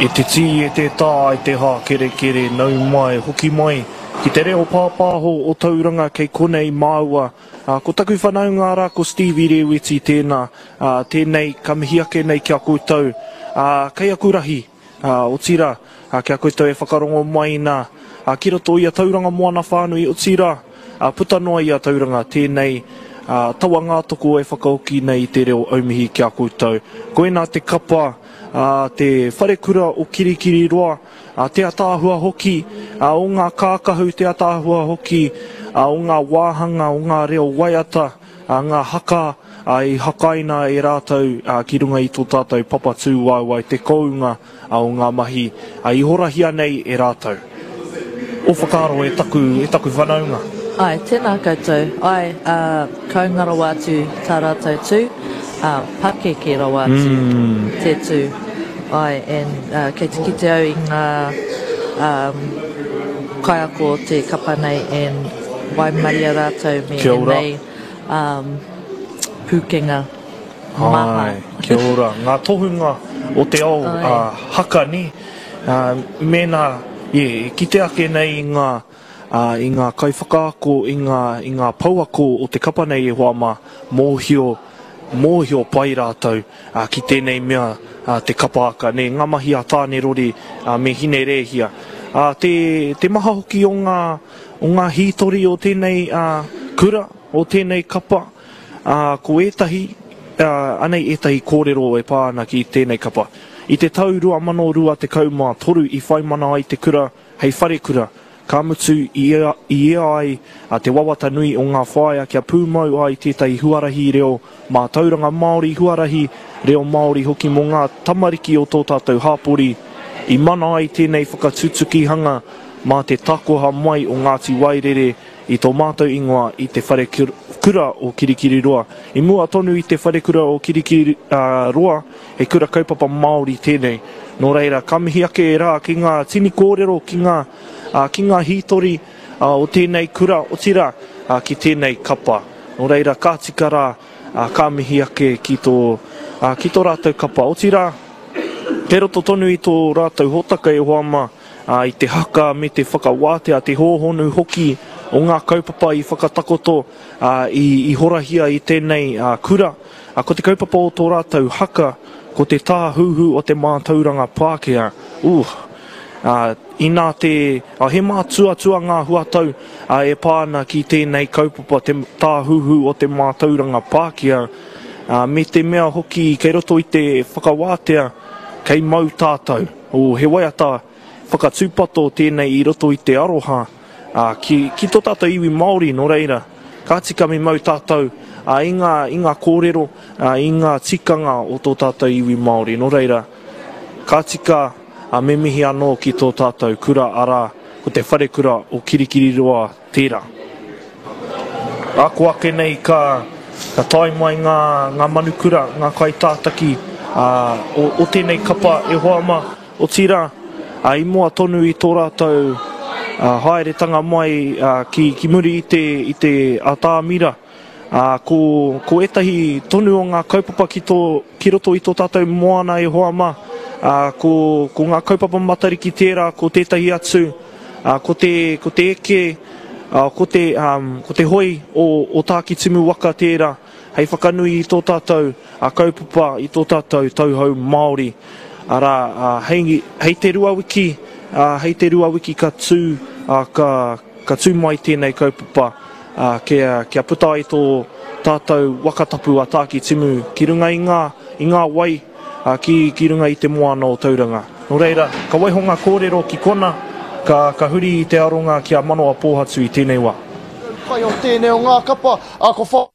E te tī, e te tā, e te hākerekere, nau mai, hoki mai ki te reo pāpāho o Tauranga kei konei māua. Ko taku whanaunga rā ko Stevie Rēweti tēnā, tēnei ka mihi ake nei ki a koutou, kei aku rahi, otirā, ki a koutou e whakarongo mai nā, ki roto i a Tauranga Moana whānui, otirā, puta noa i a Tauranga, tēnei tawa ngātoko e whakahoki nei i te reo aumihi ki a koutou. Koinā te kapa a te wharekura o Kirikiriroa, a te ataahua hoki o ngā kākahu, te ataahua hoki o ngā wāhanga, o ngā reo waiata, ngā haka i hakaina e rātou ki runga i tō tātou papa tūwaewae, te kounga o ngā mahi i horahia nei e rātou. Ō whakaaro e taku, e taku whanaunga. Āe, tēnā koutou. Āe, ā, kounga rawa atu tā rātou tū, ā, pakeke rawa atu te tū. Āe, and, ā, kei te kite au i ngā, ā, kaiako o te kapa nei and waimaria rātou me ēnei, ā, pūkenga maha. Āe, kia ora. Ngā tohunga o te ao, ā, haka, nē? Ā, mēnā, e kite ake nei i ngā, ā, i ngā kaiwhakaako, i ngā, i ngā pouako o te kapa nei e hoa mā, mōhio, mōhio pai rātou, ā, ki tēnei mea, ā, te kapa haka, nē, ngā mahi a Tāne Rori, ā, me Hine Rēhia. Ā, te, te maha hoki o ngā, o ngā hītori o tēnei, ā, kura, o tēnei kapa, Ā, ko ētahi, ā, anei ētahi kōrero e pā ana ki tēnei kapa. I te tau 2023 i whai mana ai te kura hei wharekura, ka mutu i ea, i ea ai te wawata nui o ngā whāea kia pūmau ai tētahi huarahi reo mātauranga Māori, huarahi reo Māori hoki mō ngā tamariki o tō tātou hāpori. I mana ai tēnei whakatutukihanga mā te takoha mai o Ngāti Wairere I tō mātou ingoa i te wharekura o Kirikiriroa. I mua tonu i te wharekura o Kirikiriroa, he kura kaupapa Māori tēnei. Nō reira, ka mihi ake e rā ki ngā tini kōrero, ki ngā, ki ngā hītori o tēnei kura, otirā, ki tēnei kapa. Nō reira, ka tika rā, ka mihi ake ki tō, ki tō rātou kapa. Otirā, kei roto tonu i tō rātou hōtaka e hoa mā, ā, i te haka me te whakawātea, te hōhonu hoki o ngā kaupapa i whakatakoto, ā, i, i horahia i tēnei, ā, kura. Ā, ko te kaupapa o tō rātou haka, ko te tāhuhu o te mātauranga Pākehā. Ooh! Ā, inā te, ā, he mātuatua ngā huatau, ā, e pā ana ki tēnei kaupapa, te tāhuhu o te mātauranga Pākehā, ā, me te mea hoki kei roto i te whakawātea, kei mau tātou. Oh, he waiata whakatūpato tēnei i roto i te aroha ki, ki tō tātou iwi Māori, nō reira, ka tika me mau tātou i ngā, i ngā kōrero, i ngā tikanga o tō tātou iwi Māori, nō reira, ka tika me mihi anō ki tō tātou kura, arā, ko te wharekura o Kirikiriroa tērā. Ako ake nei ka, ka tae mai ngā, ngā manukura, ngā kaitātaki ā, o, o tēnei kapa e hoa mā, otirā, ā, i mua tonu i tō rātou ā, haeretanga mai ā, ki, ki muri i te, i te atāmira. Ā, ko, ko ētahi tonu o ngā kaupapa ki tō, ki roto i tō tātou moana e hoa mā, ā, ko, ko ngā kaupapa Matariki tērā, ko tētahi atu, Ā, ko te, ko te eke, ā, ko te, ā, ko te hoi o, o Tākitimu waka tērā hei whakanui i tō tātou, ā, kaupapa, i tō tātou tauhou Māori. Arā, ā, hei, hei te ruawiki, ā, hei te ruawiki ka tū, ā, ka, ka tū mai tēnei kaupapa, ā, kia, kia puta ai tō tātou waka tapu a Tākitimu ki runga i ngā, i ngā wai, ā, ki, ki runga i te moana o Tauranga. Nō reira, ka waiho ngā kōrero ki kona, ka, ka huri i te aronga ki a Manawa Pōhatu i tēnei wā. Pai o tēnei o ngā kapa, ā, ko.